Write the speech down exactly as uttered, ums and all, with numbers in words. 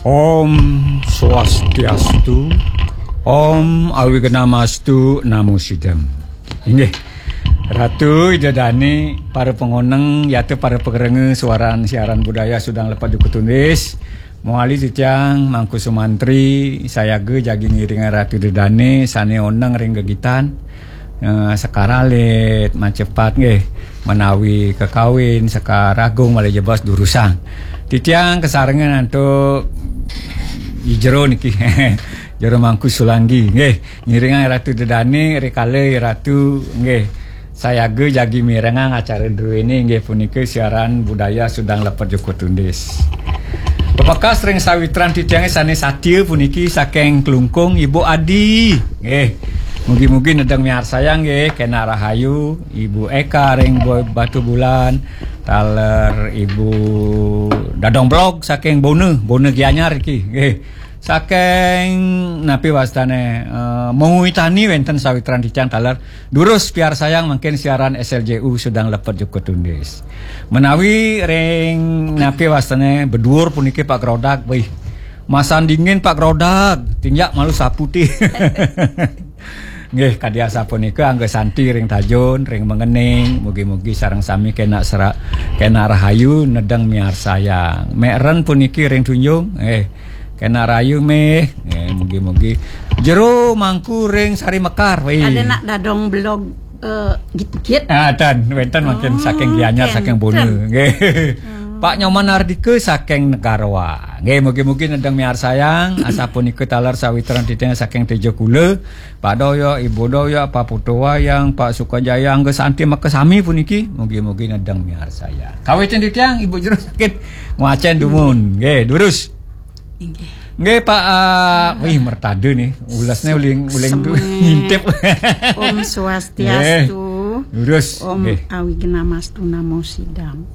Om Swastiastu, Om Awignamastu Namo Sidam. Inggih, Ratu Ida Dane, para pangoneng, yata para pangrengga suaran siaran budaya Sudang Lepet Jukut Tundis. Mawali titiang Mangku Sumantri, sayaga jagi ngiringang Ratu Ida Dane, sane oneng ring gegitan. Eh, Sekar Alit, Macepat nggih, menawi kekawin, Sekar Agung malih jebos durusang. Titiang kasarengan antuk i jero niki. Jero Mangku Sulanggi nggih, ngiringang Ratu Ida Dane rikala Ratu nggih sayaga jagi mirengang acara druene inggih punika siaran budaya Sudang Lepet Jukut Tundis. Pepekas ring sawitran titiange sane satia puniki saking Klungkung, Ibu Adi. Nggih. Mugi-mugi nedeng miarsayang nggih, kenak rahayu, Ibu Eka ring Bo-, Batubulan, taler Ibu Dadong Blog saking Bona, Bona Gianyar iki. Nggih. Saking napi wastane, eh, Mengwi Tani wenten sawitran titiang taler. Durus piarsayang mangkin siaran S L J U Sudang Lepet Jukut Tundis. Menawi ring napi wastane Beduur puniki Pak Grodag, wih. Masan dingin Pak Grodag, tinjak malu saputi. Nggih, kadi asapunika angga santi ring Tajun, ring Mengening, mugi-mugi sareng sami kenak sera-, kenak rahayu nedeng miarsayang. Mekren puniki ring Tunjung, eh, kenak rahayu meh, eh, mugi-mugi. Jero Mangku ring Sari Mekar, wih. Ada nak Dadong Blog, eh, git-git. Ah, ten, wenten mangkin saking Gianyar, saking Bona. Nggih. Pak Nyoman Ardika saking Negaroa. Nggih, mugi-mugi nedeng miarsayang, asapunika taler sawitran titiang saking Tejakula. Pak Doyok, Ibu Doyok, Pak Putu Wayang, Pak Sukajaya, angga santi makasami puniki. Mugi-mugi nedeng miarsayang. Kawitin titiang, Ibu Jero sakit ngwacen dumun. Nggih, durus. Inggih. Nggih, Pak, ah, wih, mertada nih. Ulasnya uling, uling tu Semen. Ngintip. Om Swastiastu. Nggih. Durus. Om Nggih. Awignamastu Namo Sidam.